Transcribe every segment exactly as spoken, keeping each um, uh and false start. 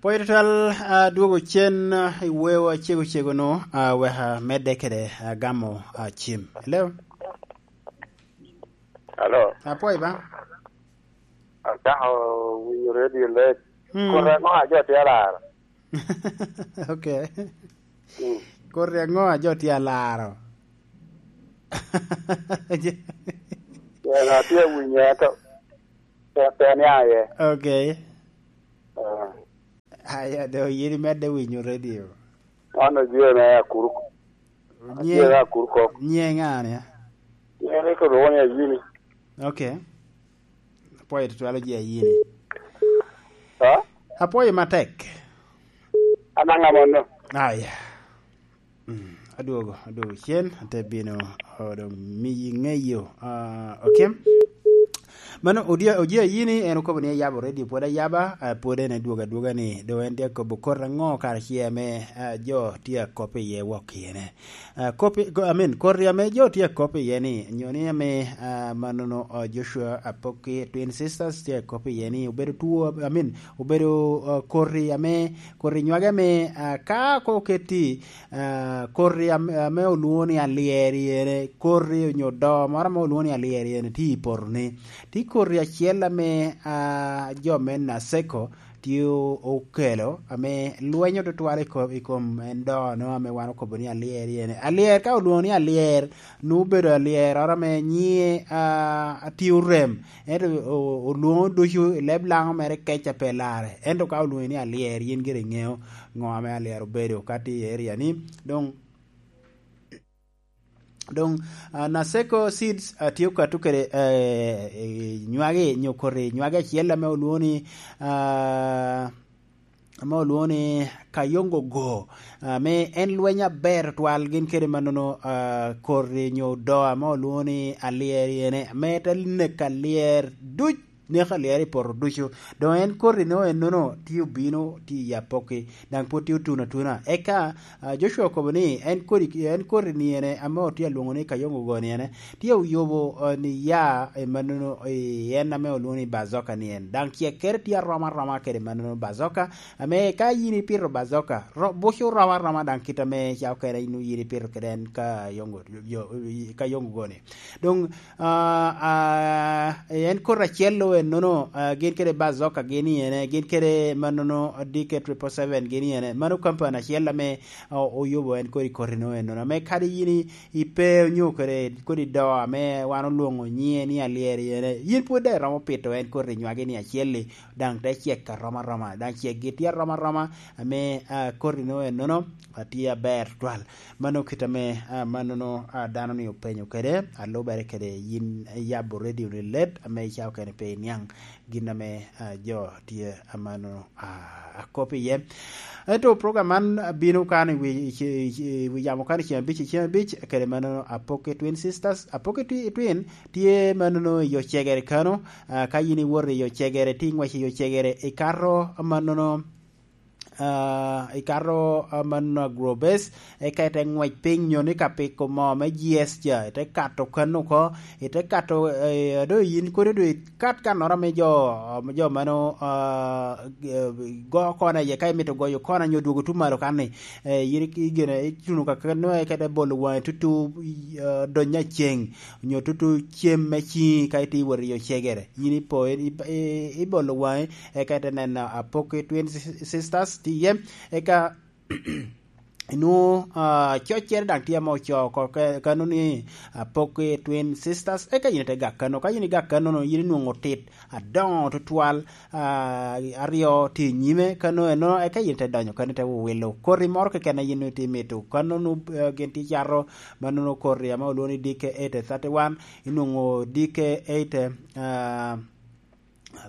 Pwoyo tutwal, adwogo cen, ah, i wewa cego cego-nu, ah, wek amedde kede, ah, gamo, ah, cim. Hello? Hello? Apwoyo ba? Atako winyo radio late. Mm. Kore aŋo a jo tye alaro? Okay. Mm. Kore aŋo a jo tye alaro? Yen atye awinyo, ento pe, pe aniaŋ iye. Okay. Ah. Aya, do yin imedde winyo radio. An Ojiyo me Akuruk. Nye-, Ojiyo me Akuruk kok. Nye ŋa ni? Nye ni ko lwongo ni Ayini. Okay. Apwoyo tutwal Ojiyo Ayini. Ha? Apwoyo matek. An aŋa mono? Aya. Mm, adwogo, adwogo cen, ate bino, oh, doŋ miyi ŋeyo. Ah, okay. Mano, Ojiyo, Ojiyo Ayini, en okobo ni ayabo radio pwod ayaba, ah, pwod en adwogo adwoga ni, doŋ en tye akobo koti aŋo kara ce ame, ah, jo tye akop iye wok iye ne. Ah, kop i-, ko-, I mean, koti ame jo tye akop iye ni, nyo ni ame, ah, manono, ah, Joshua Apoki Twin Sisters tye akop iye ni, obedo two, I mean, obedo, ah, koti ame, koti nywage ame, ah, ka ko oketi, ah, koti am-, ame olwoŋo ni alyeri ene, koti onyo doo moro ame olwoŋo ni alyeri ene tye i poto-ni. Tye koti acel ame, ah, jo me Naseko tye o-, okelo, ame lwenyo tutwal i ko-, i kom en doo-no ame wan okobo ni alyeri ene. Alyer, ka olwoŋo ni alyer, nwoŋo obedo alyeroro ame nyiŋe, ah, tye orem. Ento o-, olwoŋo ducu i leb Laŋo mere kec a pe larre. Ento ka olwoŋi ni alyer, yin gire iŋeo ŋo ame alyer obedo ka tye i area-ni. Doŋ, doŋ, ah, Naseko Seeds, ah, tye okato kede, eh, eh, nywagi, nyo koti nywagi acel ame olwoŋo ni, ah, ame olwoŋo ni Kayongo Go, ame en lweny aber tutwal gin kede manono, ah, koti nyo doo ame olwoŋo ni alyeri ene, ame te neko alyer duc, neko alyer i poto ducu. Doŋ en koti-no ennono tye obino, tye i Apoki, daŋ pwod tye otuno atuna. Eka, ah, Joshua okobo ni en kodi, en koti-ni ene ame otye alwoŋo ni Kayongo Go-ni ene, tye oyubo, eh, ni ya, eh, manono, eh, en ame olwoŋo ni Bazoka-ni en. Daŋ cekkere tye arom aroma kede manono Bazoka, ame ka yin ipito Bazoka, ro-, buco rom aroma daŋ kit ame ca okene in yin ipito kede en Kayongo, yo, Kayongo Go-ni. Doŋ, ah, ah, en koti acel-lu ennono, ah, gin kede Bazoka gin i ene, gin kede manono D K triple seven gin i ene. Mano kampani acel ame, ah, oyubo en kodi koti-no ennono. Ame kadi yin i, ipe onyo kede kodi doo ame wan olwoŋo nyiŋe ni alyeri ene, yin pwod daŋ iromo pito en koti nywagi ni acel-li, daŋ te cek arom aroma, daŋ cekgi tye arom aroma, ame, ah, koti-no ennono, ah, tye aber tutwal. Mano kit ame, ah, manono, ah, dano-ni openyo kede, alubere kede yin iyabo radio-ni let, ame ica okene pe iniaŋ gin ame, ah, jo tye amano, ah, akop iye. Ento program man bino kan i wi, i, i, i wi yamo kan i ceng abic, i ceng abic, kede manono Apoki Twin Sisters. Apoki Twi-, Twin tye manono i yo cegere kano, ah, ka yin iwoto i yo cegere, tye iŋwec i yo cegere, ikato manono, ah, ikato, ah, mano Agrobase, eka ite ŋwec piny nyo ni ka piko moo me G S ca, ite kato kan oko, ite kato, eh, ado yin kodi do ikat kannoro ame jo, jo mano, ah, eh, go kona iye, ka imito goyo kona nyo dwogo tuŋ malo kan-ni, eh, yin i-, igene, ituno ka kan-, nongo eka ite bolo waŋi tutu, ah, donyo aceng, nyo tutu cem me ciŋi ka itye iwot i yo cegere. Yin ipo, i-, i-, ibolo waŋi, eka ite neno Apoki Twin Sis-, Sisters tye iye, eka inwoŋo, ah, coccere daŋ tye ame ocoo oko ke-, kano ni Apoki Twin Sisters, eka yin ite gak kano. Ka yin igak kano-nu, yin inwoŋo tit adoŋo tutwal, ah, aryo tye i nyime kano eno, eka yin ite donyo kano ite wilo koti moro keken a yin itye imito. Kano-nu, eh, gin tye cato manono koti ame olwoŋo ni D K eight thirty-one, inwoŋo D K eight, ah,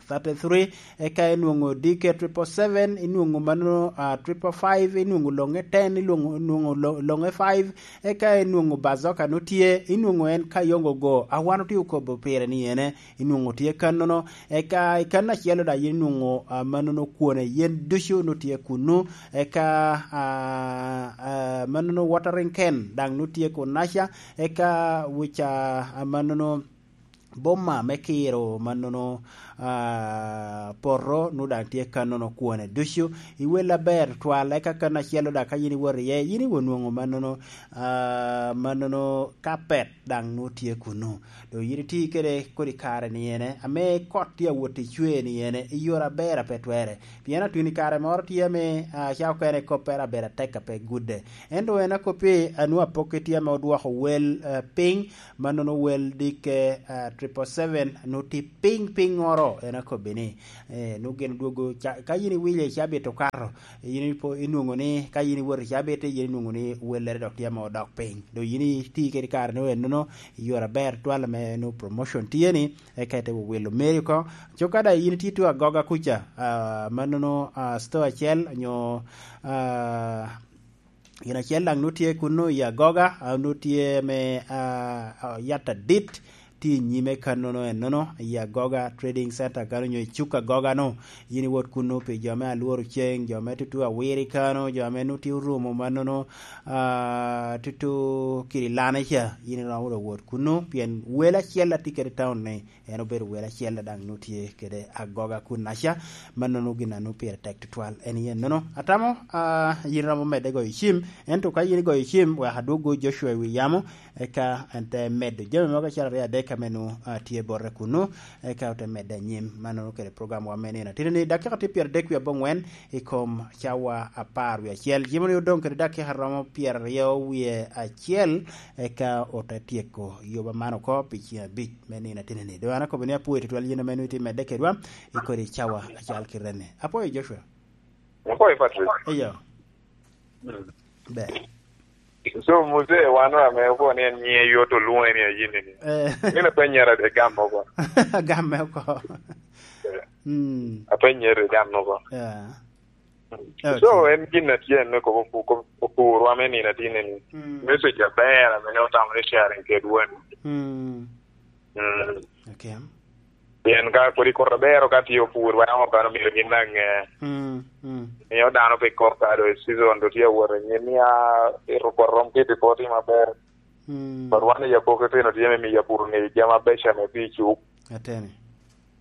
thirty-three, eka inwoŋo D K triple seven, inwoŋo mano, ah, triple five, inwoŋo loŋe ten, inwoŋo, inwoŋo lo-, loŋe five, eka inwoŋo Bazoka nutye, inwoŋo en Kayongo Go, a wan otye okobo pire ni ene, inwoŋo tye kannono, eka i kanno acel-lo daŋ yin inwoŋo, ah, manono kwone yen ducu nutye kunnu, eka, ah, ah, manono watering can daŋ nutye kunnaca, eka wica, ah, manono boma me kiro manono, ah, poto, nu daŋ tye kannono kwone ducu. I wel aber twal, eka kan acel-lo daŋ ka yin iwoto iye, yin iwo nwoŋo mannono, ah, mannono kapet daŋ nu tye kunnu. Doŋ yin iti kede kodi kare ni ene, ame kot tye awot i cwe ni ene, i yore aber a pe twere. Pien atwini kare moro tye ame, ah, ca okene koppere abedo atek a pe gudde. Ento en akoppi, a, nu apokke tye ame odwoko wel, ah, piny, mannono wel dikke, ah, triple seven, nu tye piny, pinnyoro, en akobbi ni, eh, nu gin odwogo ca-, ka yin iwile i cabit okato, yin ipo-, inwoŋo ni ka yin iwoto i cabit, yin inwoŋo ni wellere dok tye ame odok piny. Doŋ yin iti kede kare ni ennono, i yore aber twal ame nu promotion tye ni, eka ite wilo meri oko. Cok ka daŋ yin itye tuŋ agoga kuca, ah, mannono, ah, store acel, onyo, ah, gin acel daŋ nu tye kunnu i agoga, ah, nu tye me, ah, ah, yat adit, tye i nyime kannono ennono, i agoga trading center kano, onyo i cuk agoga-nu. Yin iwot kunnu pi jo me alworo ceng, jo me tutu awiri kano, jo ame nu tye orumo mannono, ah, tutu kiri lane ca, yin iromo wot kunnu, pien wel acel a tye kede i taun-ni, en obedo wel acel a daŋ nu tye kede agoga kunnaca, mannono gin a nu pire tek tutwal en iye nono. Atamo, ah, yin romo medde goyo cim, ento ka yin igoyo cim, wek adwoggo Joshua i wi yamo, eka en te medo jami mogo acel aryo adek ame nu, ah, tye bote kunnu, eka ote medde anyim. Mannono kede program wa me nino atino ni dakika tye pyeradek wie abongwen i kom cawa apar wie acel. Jimoni odoŋ kede dakika romo pyeraryo wie acel, eka ote tyeko yoba man oko pi ceng abic me nino ateni-ni. Doŋ an akobo ni apwoyo tutwal yin ame nwoŋo itye medde kedwa i kodi cawa acal kite-ni. Apwoyo Joshua. Apwoyo Patrick. Eyo. Mm. Ber. So, Muse, wan ame okobo ni en nyiŋe yot olwoŋe ni Ayini ni. Eh. Min apennyere de gam oko. Gamme oko. Eh. Mm. Apennyere de gam oko. Yeah. Okay. So, en gin a tye en me kobo opu-, kobo opurwa me nino atini ni. Mm. Message aber ame ne otamo ni sharing kedwa ni. Mm. Mm. Okay. Pien ka kodi kor aber ka tye opurwa, yam okano myero gin daŋ ŋe. Mm, mm. Miyo dano pe kok ka do season do tye awot anyim, mia ito kor rom kit i poti maber. Mm. But wan i Yakoki pino tye me miyo apur ŋeyo jami abeco ame tye i cuk. Ateni.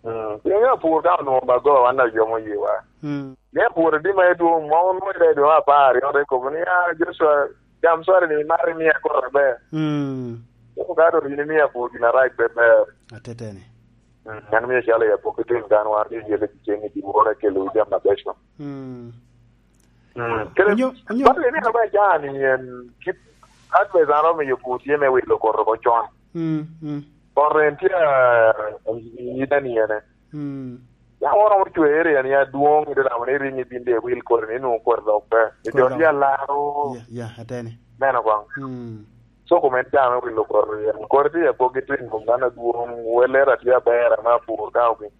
Mm. Pien apur ka onwoŋo bago, wan daŋ yomo yiwa. Mm. Ni apur adi ma edwoŋ, ma onwoŋo ite dwe me apar aryo, te kobo ni, "Ah, Joshua, gam cwari ni, imaro imia kor aber." Mm. Kobo ka dok yin imio apur gin arac pe ber. Ateteni. Mm, an mio calo i Yakoki tin kan wan tye yele ceng i dyewor akelo jami abeco. Mm. Mm. Kede onyo, onyo. Bal ni ame can i en kit advice an romo miyo pur tye me wilo kor oko con. Mm, mm. Kor en tye, ah, i ite ni ene. Mm. Ya oromo cwere yani adwoŋ i damo ni ringi bin de wil kore ni nwoŋo kore dok pe. Kore dok. Jot ya laro. Ya, ya, ateni. Meno koŋ. Mm. So, kom en dano wilo kore, kore tye i apoki tin kom dano adwoŋ, welere atye aber, ame apur ka obin.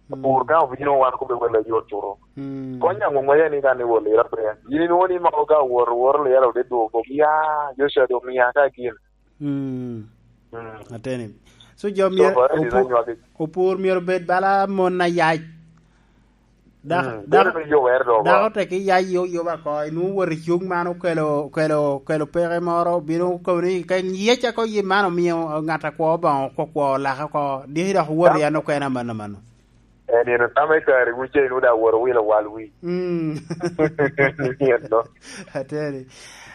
Mm. Apur ka obino wan kube welo ayot curo. Mm. Kony aŋo ŋwece ni kan iwol ira pe. Yin inwoŋo ni mako ka wor, wor lira ode dwogo, ya, Joshua dong ya ka gin. Mm. Mm. Ateni. So, jo So, myero for it is opu-, anywagi. Opur myero bed bala mon ayac. Dak-, Mm. dak-, Bedo ni jo wer dok dako oko. Tek iyac yo, yo ba ko, inwoŋo wot i cuk man okelo, okelo, okelo peke moro, bino kobo ni ka yec ako yim man omiyo ŋat akwo Obaŋa okwo, kwo lake oko, diki dok wot Tam- i an okene amanno, amanno. En, en, tam i kare wu ce inwoŋo daŋ wot owilo wal wi. Mm. Yen no. Ateni.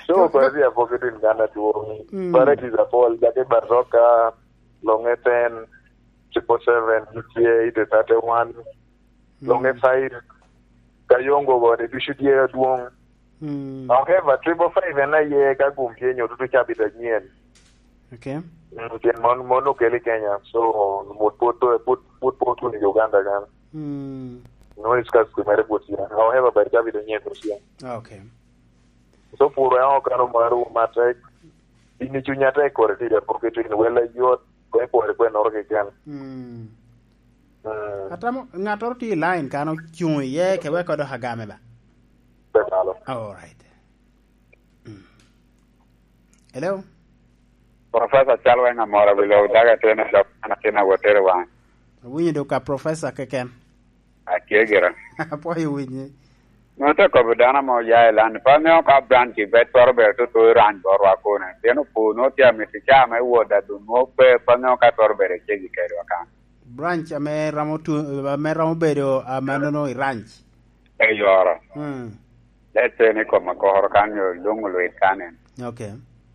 So, So, kore di apoki din kan adwoŋ. Mm. Varieties apol, jake Baroka, Longe ten, triple seven, tye, ite thirty-one, Longe Mm. five, Kayongo bene ducu tye adwoŋ. Mm. However, triple five en aye ka gum tye nyo tutu cabit anyen. Okay. Mm, pien mon, mon okel i Kenya, so, mut pwod, pwod, pwod, pwod tuno i Uganda kan. Mm. No is kas kumere pwod tye. However, by cabit anyen pwod tye. Okay. So, pur en okano maru matek. In i cunya tek kore tye, pok itino wele yot, kwe kore kwe noro keken. Mm. Mm. Atamo, ŋattoro tye i line kan ocuŋ iye, ke wek odok agame ba? Pe malo. All right. Mm. Hello? Professor Calweng Amora, wi lok daga tene dok an atin awotere waŋ. Awinyo do ka Professor keken. Atye gira. Apwoyo winyi. Nwoŋo te kobo dano ame oya i London, pe aŋeo ka branch i bet twero bedo tutu i rany botwa kune. Pien opur nwoŋo tye amito caa me wot, a dun nwoŋo pe, pe aŋeo ka twero bedo i cegi kedwa kan. Branch ame romo tu-, ame romo bedo, ah, manono i ranch. Eyoro. Mm. Let's say ni kom akoro kan yo dong olwit kan en. Okay.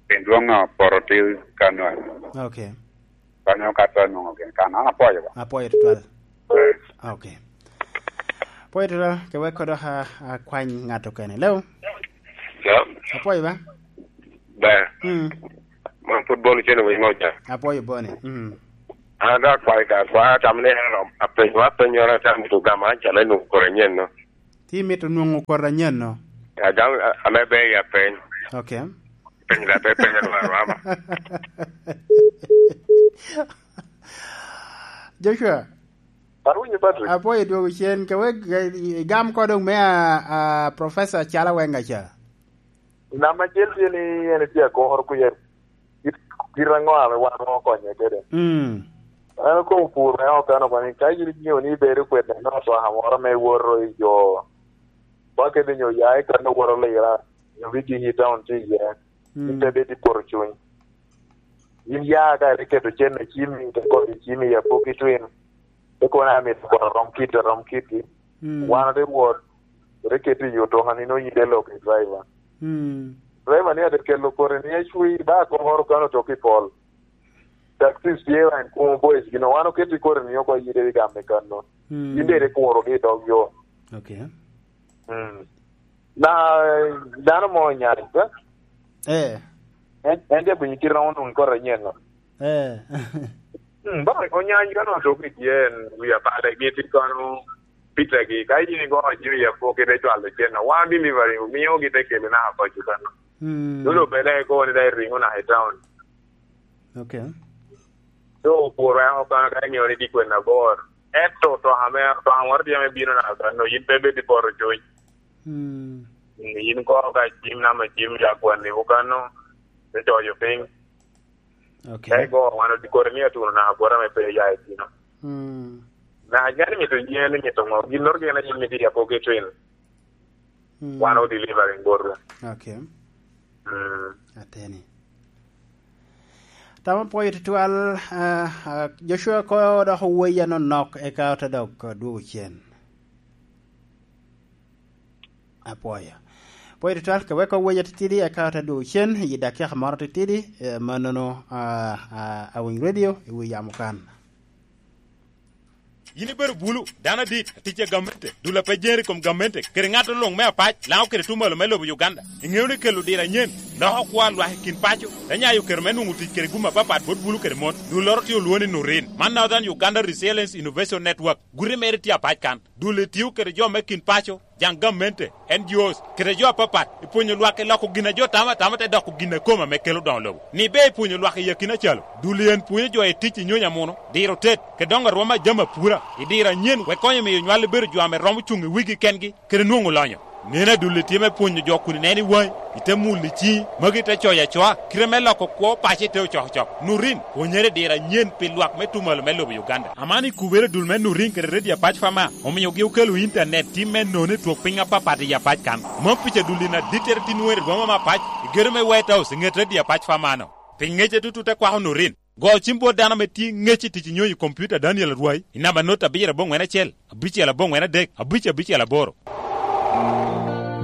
Pien dwong, ah, poto til kan en. Okay. Kan yo ka to nongo gen kan. An apwoyo ba. Apwoyo tutwal. Eh. Okay. Apwoyo tutwal, ke wek kodo a, a kwany ŋat okene. Hello? Hello? Apwoyo ba? Ber. Mm. Man pwod Boni cen owiny moja. Apwoyo Boni. Mm. An ada kwayo ka, kwa tam ni en rom, apenyo, apenyo ra tam to gama an calo nwoŋo kore anyen no. Ti mito nwoŋo kore anyen no? Adam, a-, ame ber ya peny. Okay. Peny da pe peny rwa rwa ma. Joshua. Awinyo, Patrick. Apwoyo dwogo cen, ke wek, eh, igam ko dong me a, a, Professor Chala Wenga ca. Namba acel tye ni en tye akor kuye. Kit, kit aŋo ame wan wakonye kede? Mm. An okobo pur me okano koni, ka yin inyeo ni ibedo kwede nino twaka moro me woto i jo, ba kede nyo ya i kan owoto lira, nyo wigi i town tye iye, mm, in te bed i poto cuny. Yin ya ka iketo cen i cimi, te kodi cimi i apoki twin, te kono amito kono rom kit, rom kitgi. Mm. Wan ote wot, ote keto i otoka ni nongo yin te lok i driver. Mm. Driver ni ate kelo kore ni acwi, ba akoro kano tok i pol. Taxis tye en kumo boys gino, wan oketi kore ni oko yide i gam i kanno. Mm. Yin deri kuro gi i dog yo. Okay. Mm. Na, dano mo onyany, eh? Eh. En, en ja gwinyo kite romo nwoŋo kore nyen no. Eh. Mm, ba, onyany ka nongo tok i tyen, wi apade giti kono pitegi, ka yin igo jami i apoki te cwalo cen, no, wan delivery, omiogi te kele naka koc i kanno. Mm. Dolo bele ikobo ni dai ringo naka i town. Okay. So, opworo en oko kono ka iŋeo ni tye kwena abor. Ento to ame, to ame woro tye ame bino naka kanno, yin pe bed i poto cuny. Mm. Yin kono ka cim nama cim ya kwanni oko kanno, te coyo piny. Okay. Ka igo wan odi kore ni atuno naka bwota me pe ya i tino. Mm. Na, gin mito yen, mito ŋo? Ginnoro gin aye mito ya poki twin. Mm. Wan o delivering botwu. Okay. Mm. Ateni. Tama pwoyo tutwal, ah, ah, Joshua ko dok owei anonok eka ote dok dwogo cen. Apwoyo. Apwoyo tutwal, ka weko weya titidi, eka ote dwogo cen, i dakika moro titidi, eh, mannono, ah, ah, Awiny Radio, i wi yamo kan. Yin ibedo bulu, dano adit, atic a gamente, dul a pe jeri kom gamente, kede ŋat oluŋ me apac, laŋo kede tumalo me lobo Uganda. Iŋeo ni kelo diro anyen, loko kwa lwak i kin paco, te nyayo kero me nwoŋo tic kede gum apapat bot bulu kede mon. Dulloro tye olwoŋo ni Nurin. Man Northern Uganda Resilience Innovation Network, guti mere tye apac kan. Dul etio kede jo me kin paco, jaŋ gamente, N G Os, kede jo apapat, i pwonyo lwak i loko gin a jo tamo atama te doko gin a kome ame kelo doŋo lobo. Ni ber i pwonyo lwak i akina calo, dul en pwonyo jo i tic i nyonyo amuno, diro tet, kede doŋo arwom a jami apura, i diro anyen, wek konyo miyo nywal bedo jo ame romo cuŋ i wigi kengi, kede nwoŋo lonyo. Nen adul itye me pwonyo jo kun ineno i waŋi, ite mulo i ciŋi, magi te coyo acoa, kite me loko kwo paco ite ocokocok. Nurin, pwonyere diro anyen pi lwak me tumalo me lobo Uganda. Aman i kubere dul me Nurin kede Radio Apac Fama, omiogi okelo intanet tim me nono i twok piny apapat i Apac kan. Mom pica dul in adittere tin wer i boma me Apac, i gedo me White House, i ŋet Radio Apac Fama no. Pi ŋece tutu te kwako Nurin. Go cim bot dano ame tye ŋec i tic i nyonyo i kompiuta Daniel Arwai, i namba not abiro aboŋwen acel, abicel aboŋwen adek, abic abicel aboro.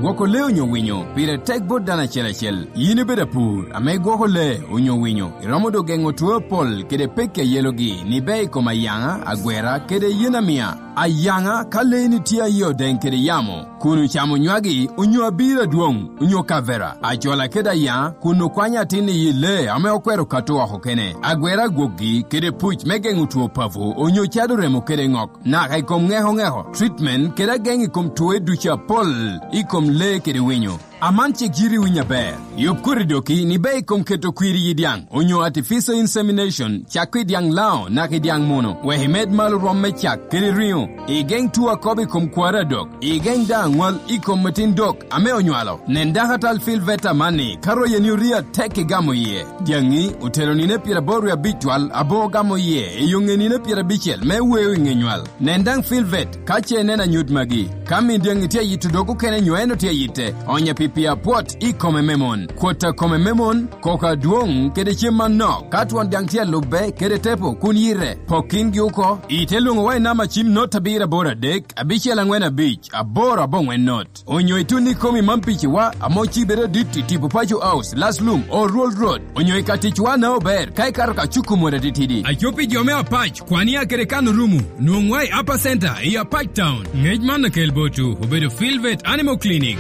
Gwoko lee onyo winyo pire tek bot dano acel acel. Yin ibedo apur ame igwoko lee onyo winyo, iromo doŋ geŋo two apol kede pekki a yelogi ni ber i kom ayaŋa, agwera, kede yen amia. Ayaŋa, ka leeni tye aye odeŋ kede yamo, kun ocamo nywagi, onyo abiro adwoŋ, onyo kavera, acola kede ayaŋa, kun okwanyo atin i yi lee ame okwero kato oko kene, agwera agwokgi, kede puc me geŋo two papo, onyo cado remo kede ŋok, naka i kom ŋeko ŋeko, treatment, kede ageŋ i kom twoe ducu apol i kom lee kede winyo. Aman cik yiti winy aber. Yub koti doki ni ber i kom keto kwir i yi dyaŋ, onyo artificial insemination, cakko i dyaŋ laŋo naka i dyaŋ muno, wek imed malo rwom me cak kede riŋo. Igeŋ tuo akobo i kom kwari adok. Igeŋ daŋ aŋwal i kom atin dok ame onywalo. Nen dakatal Phil Veta amanni, ka royeni orio atek igamo iye. Dyaŋi otero nino pyeraboro wie abic twal, abo ogamo iye i yo ŋe nino pyerabicel me weo i ŋe nywal. Nen daŋ Phil Vet ka ce ineno anyut magi. Ka min dyaŋi tye ayito dog okene nyo en otye ayitte, onye pi Pi apwot i kome me mon. Kwot a kome me mon, koko adwoŋ kede cem manok, ka twon daŋ tye alubbe kede tepo kun yite, pok kingi oko, ite lwoŋo wa i namba cim not abiro aboro adek, abicel aŋwen abic, aboro aboŋwen not. Onyo itun i komi man piciwa, amo ci bedo dit i tipo Paco House, Laslum, Oruol Road. Onyo i ka ticwa na ober, ka ikato ka cuku mot atitidi. Aco pi jo me Apac, kwania kede kan orumu, nwoŋwa i Upper Center, i Apac Town. Ngec man akel botwu, obedo Filvet Animal Clinic.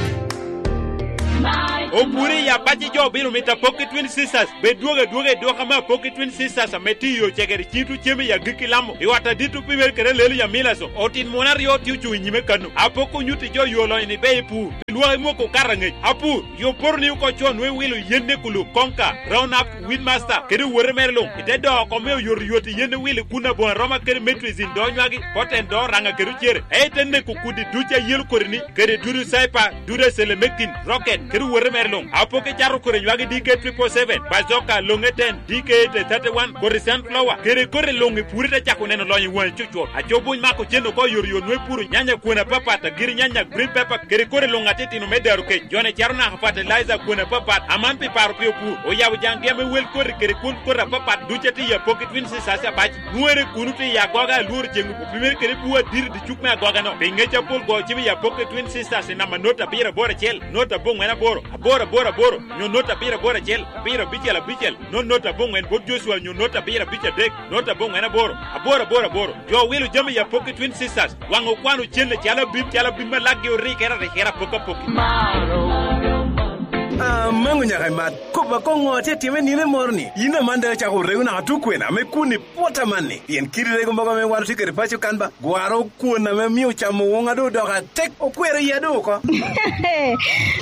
Opuri i Apac i jo obino mito Apoki Twin Sisters. Bed dwogo adwoga i dwoka me Apoki Twin Sisters ame tiyo cegere cito cem i agikki lamo. I ot adit opimere kede lelo ya milaso. Otin mon aryo tye ocuŋ i nyime kano. Apoko onyutti jo yo lonyo ni be i pur. Pi lwak imoko okato angec. Apur, yo poto ni oko co nwe wilo yen ne kulu, konka, round up, weed master, kede wote mere luŋ. Ite doo oko me oyoto yot i yen ne wilo kun aboŋa roma kede metrizin doo nywagi, poten doo raŋa kede ocere. Ei te neko kudi duc a yelo kodi ni, kede dudu saipa, dudu acelemekin, rocket, kede wote mere luŋ. Apoko icato kodi nywagi D K triple seven, bazoka, loŋe ten, D K eight thirty-one, kodi sunflower, kede kodi luŋ i puri te cako neno lonyo i waŋi cucwot. Aco buny mako cen oko yot yot nwe puro nyanya kwena papat, agiri nyanya, green pepper, kede kodi luŋ atitino me daro kec. Jone caro naka fertilizer kwena papat, aman pi paro pi opur. Oyabo jaŋgi ame wel kodi kede kwon kodi apapat duc atye i Apoki Twin Sisters Apac. Nwere kuno tye i agoga alworo ceŋ opimere kede bwo adiri dicuk me agoga no. Pi ŋec apol go cim i Apoki Twin Sisters i namba not abiro aboro acel, not aboŋwen aboro, aboro aboro aboro, nyo not abiro aboro acel, abiro abicel abicel, not not aboŋwen bot Joshua nyo not abiro abic adek, not aboŋwen aboro, aboro aboro aboro. Jo wilo jami i Apoki Twin Sisters, waŋ okwano cen acalo abim, calo abim ma lakgi orikere arikere apoki apoki. Amaŋo nyaka imat. Kop akoŋo atye time nino moro ni? Yin aman daŋ ocako rego naka tukwena me kun i pwota man ni. Pien kidi rego mogo ame wan otye kede paco kan ba, gwaro kwon ame mio camo woŋa doŋ odoko atek, okwero iya doŋ oko.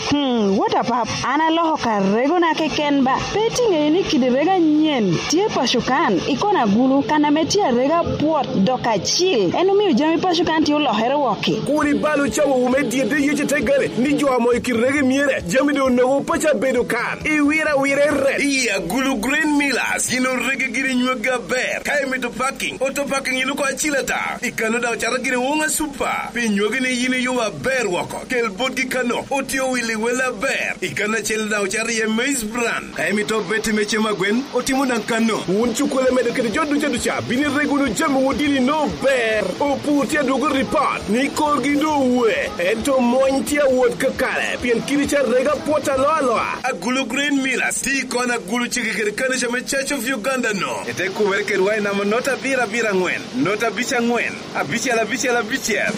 Hmm, what a pap. An aloko ka regona keken ba. Pe itiŋeyo ni kidi rego anyen tye paco kan, i kona agulu, kan ame tye arega pwot dok acil. En omio jami paco kan tye olokere wokki. Kur ibal ocawowu me dyedde yece te gale, ni jo amo i kidi rego myere, jami doŋ onogo paco abedo kan. Iwira wira i ret. I agulu Green Millers, yin orege giri nyweggi aber. Ka imito parking, auto parking yin oko acil ata. I kano daŋ ocato giri woŋa super. Pi nywegi ni yin iyubo aber woko. Kel botgi kano, otye owili wel aber. I kano acel daŋ ocato iye maize bran. Ka imito beti me cem agwen, otimo daŋ kano. Wun cukkulu amedo kede jo duca duca, bino ireg wunu jami wun dini no ber. Opur tye adwogo ripot, ni korgi doŋ owe. Ento mony tye awot kakare, pien kidi ca rega pwot aloa aloa. Agulu Green Millers, tye i kona agulu cege kede kanica me Church of Uganda no. Ete kumere kedwa i namba not abiro abiro aŋwen, not abic aŋwen, abicel abicel abicel.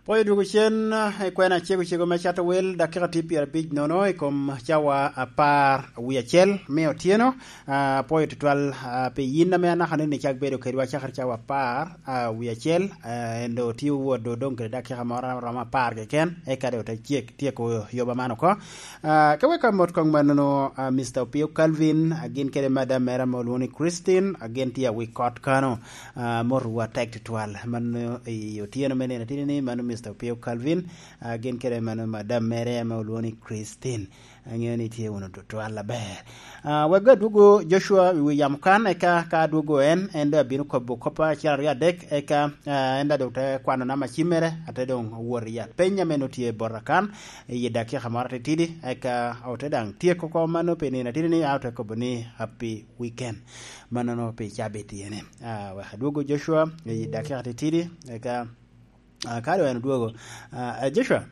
Pwoyo dwogo cen, eh, i kwena cego cego me cato wel, dakika tye pyerabic nono i kom cawa apar wie acel me otyeno. Ah, apwoyo tutwal, ah, pi yin ame anaka ni icak bedo kedwa cakere cawa apar, ah, wie acel, ah, en doŋ tye wot doŋ, doŋ kede dakika moro romo apar keken, eka doŋ ote tyek, tyeko yoba man oko. Ah, ka wek amot koŋ mannono, ah, Mister Opio Calvin, ah, gin kede madam mere ame olwoŋo ni Christine, ah, gin tye awi kot kano. Ah, motowu atek tutwal. Mano i otyeno me nino atini ni, mano Mister Opio Calvin, ah, gin kede mano madam mere ame olwoŋo ni Christine. Aŋeo ni tye wunu tutwal aber. Ah, wek adwogo Joshua i wi yamo kan, eka ka adwogo en, en doŋ abino kobo kop acel aryo adek, eka, ah, en daŋ doŋ te kwano namba cim mere, ate doŋ wot i apeny ame nongo tye bota kan, i dakika moro atitidi, eka ote daŋ tyeko oko mano pi nino atidi ni, a ote kobo ni happy weekend. Mannono pi cabit iyene. Ah, wek adwogo Joshua i dakika titidi, eka, ah, ka doŋ en odwogo. Ah, eh, Joshua,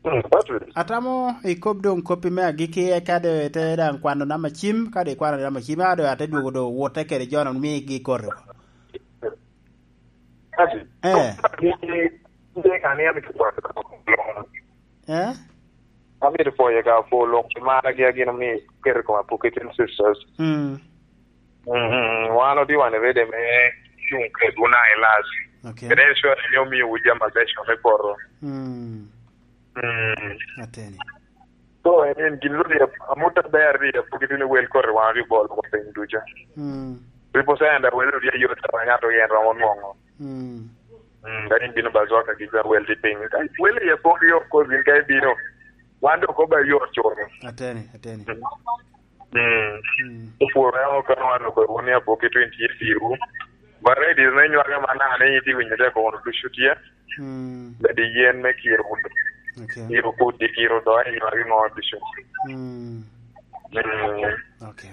Mm, Patrick. Atamo ikob doŋ koppi me agikki, eka doŋ ite daŋ kwano namba cim, ka doŋ ikwano namba cim, a doŋ ate dwogo doŋ wote kede jo-nu migi koti. Patrick. Eh. Ni, ni, ni, kan ni amito pwoyo ka polo. Eh? Amito pwoyo ka polo, pi margi a gin omi keto i koma Pokiten Sisters. Mm. Mm, wan otye wan ready me cuŋ kedwu na i lac. Okay. Kede ensure ni omiowu jami mabeco me poto. Mm. Mm. Ateni. So, en, en gin lodi amut aber ri apogi tini wel kore wan ri bol ko piny duca. Mm. Ripo sa enda wel ri ayot sa wan nyato yen romo nwongo. Mm. Mm, kadi bino ba zwa ka gija wel di piny. Ka wel ri apogi yo ko zin ka bino. Wan do ko ba yo choro. Ateni, ateni. Mm. Mm. Mm. Opworo ya okano wan ko woni apogi twenty years iru. Ba ready ne nywaga mana ne iti winyo de ko wono ducu tye. Mm. Bed i yen me kiro kuno. Okay. Iro kudi, iro do, iro agi ŋo ducu. Mm. Mm. Okay.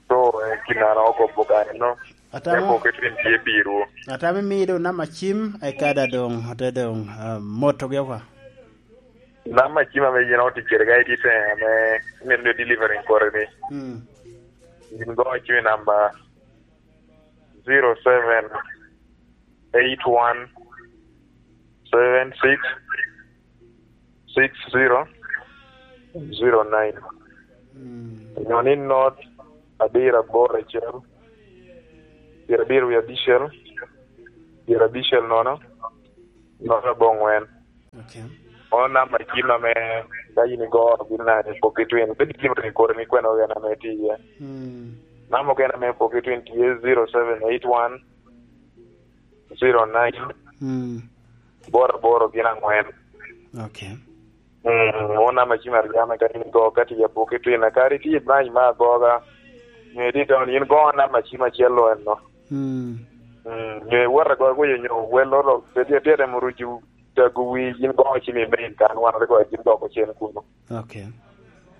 So, eh, kinara okobo kare no. Atamo. Eko ke twin tye biro. Atamo imiyo doŋ namba cim, eka da doŋ, ote doŋ, ah, moto gi oko. Namba cim ame yin oticere ka iti te ame, ame delivery inquiry ni. Mm. Yin go cim i namba zero seven eight one seven six six zero zero nine. Mm. Onyo ni not abiro aboro acel, pyerabiro wie abicel, pyerabicel nono, nono aboŋwen. Okay. Ono namba cim ame ka yin igo gin na i poki twin, bed itim rekodi ni kwene ogena ame tye iye. Mm. Namba ogena ame poki twin tye zero seven eight one zero nine. Mm. Boro aboro gin angwen. Okay. Mm, ono namba cim aryo ame ka yin igo ka tye i poki twin, kadi tye i branch me agoga, nyo itye i town, yin go namba cim acel lo enno. Mm. Mm, nyo iwot agoga kuyo nyo welo ro, pe tye, tye temo rucu tago wi, yin go cim i main kan, wan rik wacim doko cen kuno. Okay.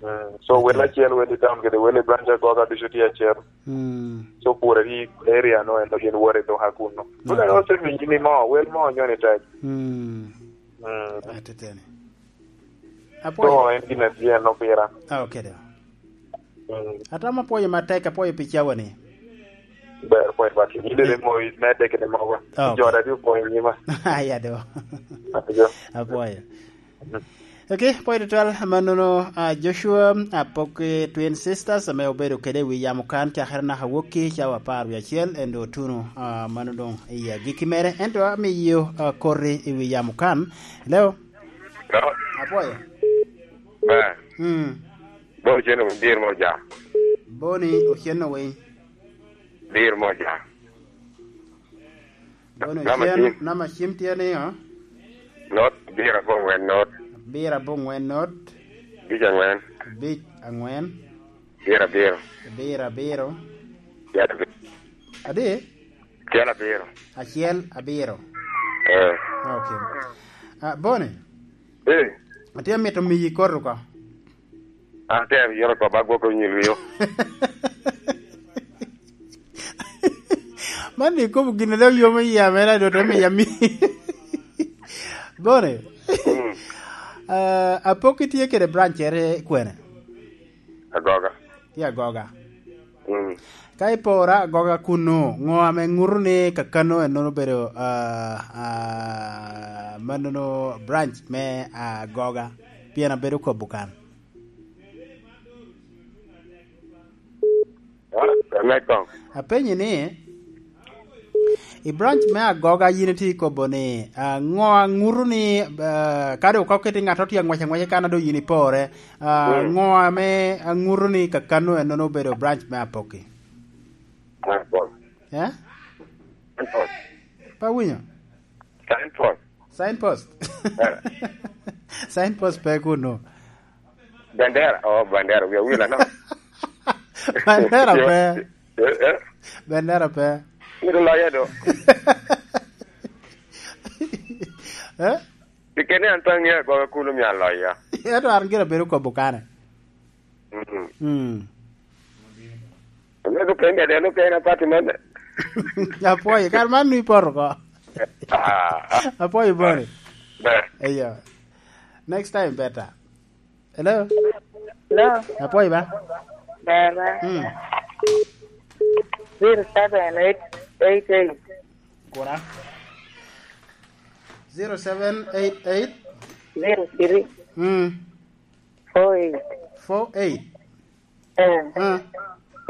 Mm, so okay. Wel acel, wel i town kede wel i branch agoga ducu tye acel. Mm. So pwod adi area no en gin wot i duka kuno. Okay. Tun ero osemi yini mo, wel mo nyo ni tek. Mm. Mm. Ateteni. Apwoyo. So en gin atye en opira. Ah, okay, do. Mm. Atamo apwoyo matek, apwoyo pi cawa ni. Ber, apwoyo matek. Yin dede mo, me dek ni mogo. Ah, okay. Jora di opwoyo nyima. Aya do. Ajo. Apwoyo. Mm. Okay, apwoyo tutwal, mannono, ah, Joshua, ah, Apoki Twin Sisters, ame obedo kede i wi yamo kan, cakere naka wokki, cawa apar wie acel, en doŋ otuno, ah, mano doŋ i agikki mere. Ento amiyo, ah, koti i wi yamo kan. Hello? Hello? Apwoyo. Ber. Mm. Boni Ocen Owiny, dir mo ja. Boni Ocen Owiny. Dir mo ja. Boni Ocen, namba cim tye ni, o? Not, abiro abongwen not. Abiro abongwen not. Abic angwen. Abic angwen. Abiro abiro. Abiro abiro. Acel abiro. Adi? Acel abiro. Acel abiro. Eh. Okay. Ah, Boni? Eh. Atye amito miyi koti oko. An atye abiro oko, ba gwoko nyil wio. Man ni ikobo gin a dok yomo iya mere, a dok te miya mi. Boni? Mm. Ah, Apoki tye kede brancere kwene? Agoga. Tye Agoga. Mm. Ka iporo Agoga kuno, ŋo ame ŋuto ni kakano ennono obedo, ah, ah, mannono branch me Agoga? Pien abedo kobo kan. Ah, me koŋ. Apenyi ni, i branch me Agoga yin itye ikobo ni, ah, ŋo a ŋuto ni, ah, kadi okok kiti ŋat otye aŋwec aŋwec kan a doŋ yin ipore, ah, mm, ŋo ame a ŋuto ni kakano ennono obedo branch me Apoki? Signpost. Eh? Signpost. Pe awinyo? Signpost. Signpost. Eh. Signpost pe kuno. Bandera, oh, bandera, wiya wil anaka. Bandera pe. Eh, eh. Bandera pe. Mito loyo do. Eh? Pikene an pe aŋeo agoga kuno omio aloya. Ento an gire bedo kobo kane. Mm. Mm. Ame lukende, de lukende apati man. Apwoyo, kare man nwi poto oko. Ah, ah. Apwoyo Boni. Ber. Eyo. Next time better. Hello? Hello? Apwoyo ba? Ber, ber. Mm. Zero seven eight eight eight. Kura? Zero seven eight eight? Zero three. Mm. Four eight. Four eight? Eh. Ah.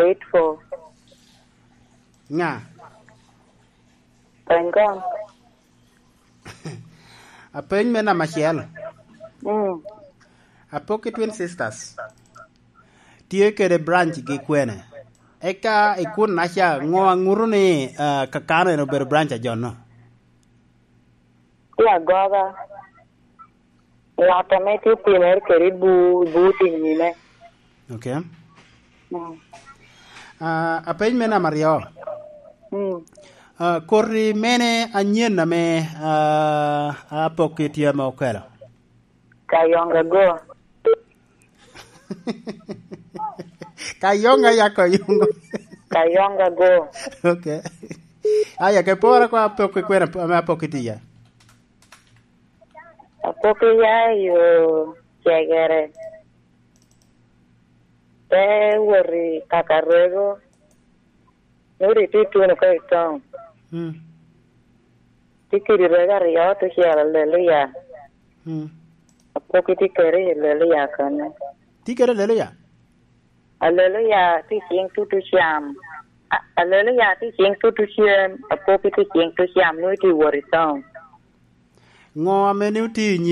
Eight four. Ŋa? Pangong. Apeny me namba acel. Mm. Apoki Twin Sisters tye kede branch gi kwene? Eka i kun naca, ŋo a ŋuto ni, ah, kakano en obedo branch a jo-no? Tye Agoga. Ŋat ame tye opimere kede i bu-, i but i nyime. Ok. Mm. Ah, apeny me namba aryo. Mm. Ah, koti mene anyen ame, ah, Apoki tye ame okelo? Kayonga go. Kayonga ya Kayonga. Kayonga go. Okay. Aya, ke pora kwa apok kwena ame apok itiya. Apok iya yo cegere. Te wot i kaka rego. Nuri ti tuno ka i town. Mm. Ti kidi rego aryo, tucel aleluya. Mm. Apok iti kere i aleluya kene. Ti kere aleluya? Aleluya ti ciŋ tutu cam. A-, aleluya ti ciŋ tutu cem. Apok iti ciŋ tutu cam, nuri ti wot i town. Ŋo ame ni oti i nyim